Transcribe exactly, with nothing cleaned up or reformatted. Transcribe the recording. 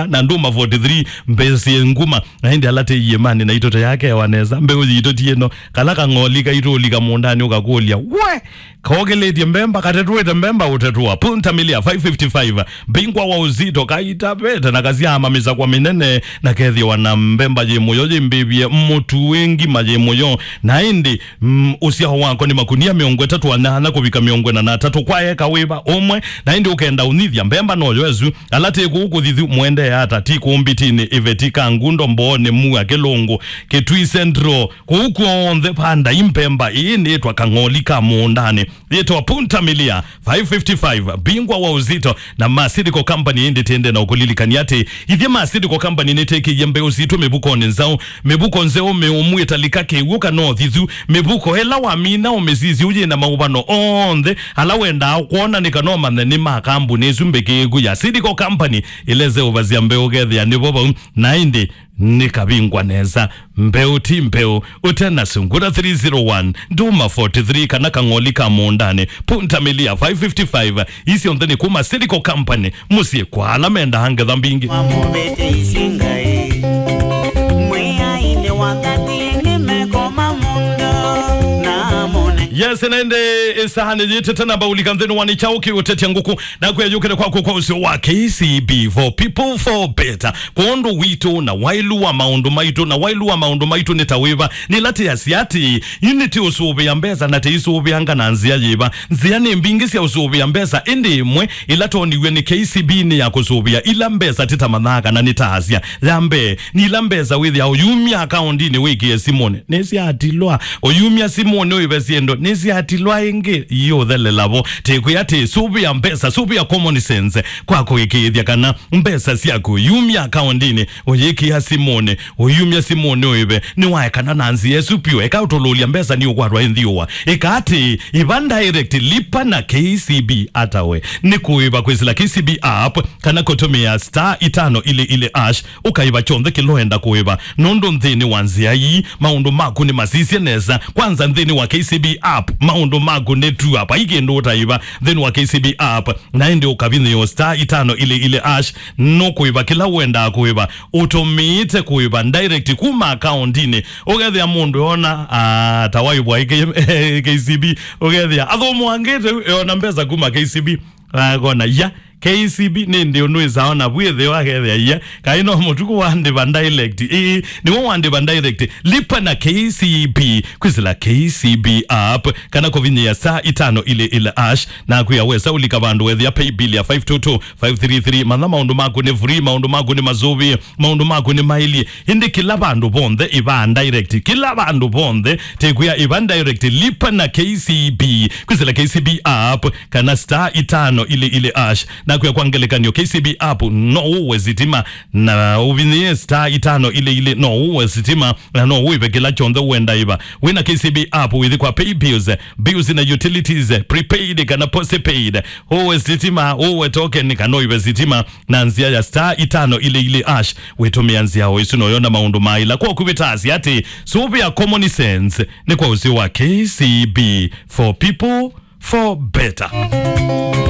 na ndũma forty-three, mbesa nguma. Na ĩndĩ ala tĩ iĩmanĩ na itũte yake wa nesa, mbeũ yitũ ti ĩno. Kala kang'oli kaitũ ũlika mũũndanĩ ũkakũlya, we! Kokĩlĩtye mbemba, katetwĩte mbemba ũtetwa. Punta Milia five fifty-five, mbingwa wa ũsito, kaitavete na kasyaama mĩsakwa mĩnene, na kethĩwa na mbemba yĩ mũyo yĩmbĩvye mũtu, ĩ ngima yĩ mũyo. Na ĩndĩ, mm, ũsyao wako nĩ makunia mĩongo ĩtatũ na nyanya kũvika mĩongo ĩna na atatũ kwa eka wĩva ũmwe. Na ĩndĩ ũkenda ũnyithya mbemba noyo ĩsu, ala tĩ kũu Kũthithu, mũendee ata, ti kũu Mbitinĩ, Iveti, Kangundo, Mbooni, Mua, Kĩlũngũ, Kitui Central, kũu kw'onthe vandai mbemba ĩĩ nĩĩtwa kang'oli ka mũũndanĩ. Yĩtwa Punta Milia five fifty-five, bingwa wa ũsito na Masilico Company. Ĩndĩ tĩende na ũkũlilikania atĩ ithyĩ Masilico Company nĩtĩkĩie mbeũ sitũ mĩvukonĩ nzaũ, mĩvuko nzeũ mĩũmu ĩtalika kĩw'ũ kana ũthithu, mĩvuko ĩla wamina ũmĩsisya ũyĩ na maũvano onthe ala wendaa kwona nĩ kana ũmanye nĩ ma kambuni ĩsu mbĩkĩĩku ya Silico Company, ĩla ĩseũvasya mbeũ ũkethĩa nĩvo vau. Na ĩndĩ nĩ kavingwa nesa. Mbeũ ti mbeũ, ũte na sungura three zero one, ndũma forty-three, kana kang'oli ka mũũndanĩ, Punta Milia five fifty-five, ii syonthe nĩ kuma Silico Company, mũsyĩ kwa ala mendaa ngetha mbingĩ. Wamũvĩte isinga ĩ, mwĩai nĩ wakati nĩ meko ma mũndũ na mũne. Yes, na ĩndĩ ĩsaa nĩyĩtĩte namba ũlika nthĩnĩ wa nĩ kyaũ kĩũtetya ngũkũ. Nakwĩa yũkĩte kwaku kwa ũseo wa K C B, for people, for better. Kwondũ witũ na wailu wa maũndũ maitũ, na wailu wa maũndũ maitũ nĩ ta wĩva? Nĩ ĩla tĩasya atĩ, ĩndĩ tĩũsũvĩa mbesa na tĩisũvĩanga na nzĩa yĩva? Nzĩa nĩ mbingĩ sya ũsũvĩa mbesa, ĩndĩ ĩmwe ĩla twoniw'e nĩ K C B nĩ ya kũsũvĩa ila mbesa tĩtamanyaa kana nĩtaasya. Ya mbee, nĩ ila mbesa wĩthĩaa ũyumya akaũndinĩ wĩkĩe simũnĩ. Nĩsyatilwa. Ũyumya simũnĩ ũĩve syĩndũ nĩsyatilwa ĩngĩ, iũthelela vo. Tĩkwĩa atĩ, sũvĩa mbesa, sũvĩa common sense kwa kũĩkĩĩthya kana mbesa syaku ũyumya akaũndinĩ, ũyĩkĩa simũnĩ, ũyumya simũnĩ ũĩve. Nĩwaekana na nzĩa ĩsu piũ. Eka ũtũlũlya mbesa nĩ ũkwatwa ĩ nthĩũa. Ĩka atĩ, ĩva direct, lipa na K C B. Ata we? Nĩ kũĩva kwĩsĩla K C B app kana kũtũmĩa star itano ili ili hash. Ũkaĩva kyonthe kĩla ũenda kũĩva, nũndũ nthĩnĩ wa nzĩa ii, maũndũ maku nĩ masisye nesa. Kwanza, nthĩnĩ wa K C B app, maũndũ maku nĩ tua, vai kĩndũ ũtaĩva nthĩnĩ wa K C B app. Na ĩndĩ ũkavinyĩĩa star itano ili ili hash, nũkũĩva kĩla ũendaa kũĩva, ũtũmĩĩte kũĩva direct kuma akaũndinĩ. Ũkethĩa mũndũ eona, ah, ta waĩvwa ĩ K-, K C B, ũkethĩa athũmũangĩte, eona mbesa kuma K C B. Akona, ya, K C B nĩ ndĩ ũnwĩsaa ona vu ĩtheo akethĩa, ya, kaĩ no mũtuku wandĩva direct. Ĩĩ, nĩwe wandĩva direct. Lipa na K C B, kwĩsĩla K C B app, kana kũvinyĩĩa star itano ili ili hash, na kwĩa wesa ũlika vandũ wethĩa pay bill ya five two two five three three. Manya maũndũ maku nĩ free, maũndũ maku nĩ masũvĩe, maũndũ maku nĩ maĩlye. Ĩndĩ kĩla vandũ vonthe ĩva direct, kĩla vandũ vonthe, tĩkwĩa ĩva direct, lipa na K C B, kwĩsĩla K C B app, kana star itano ili ili hash. Nakwĩa kwa ngelekany'o, K C B app no ũwe sitima, na ũvinyĩe star itano ili ili, no ũwe sitima, na no ũĩve kĩla kyonthe ũenda ĩva. Wĩna K C B app, wĩthi kwa pay bills, bills na utilities, prepaid kana postpaid. Ũwe sitima, ũwe token, kana ũĩve sitima na nzĩa ya star itano ili ili hash. Wĩtũmĩa nzĩa o ĩsu noyona maũndũ maĩla. Kwa kũvĩtasya atĩ, sũvĩa common sense nĩ kwa ũseo wa K C B, for people, for better.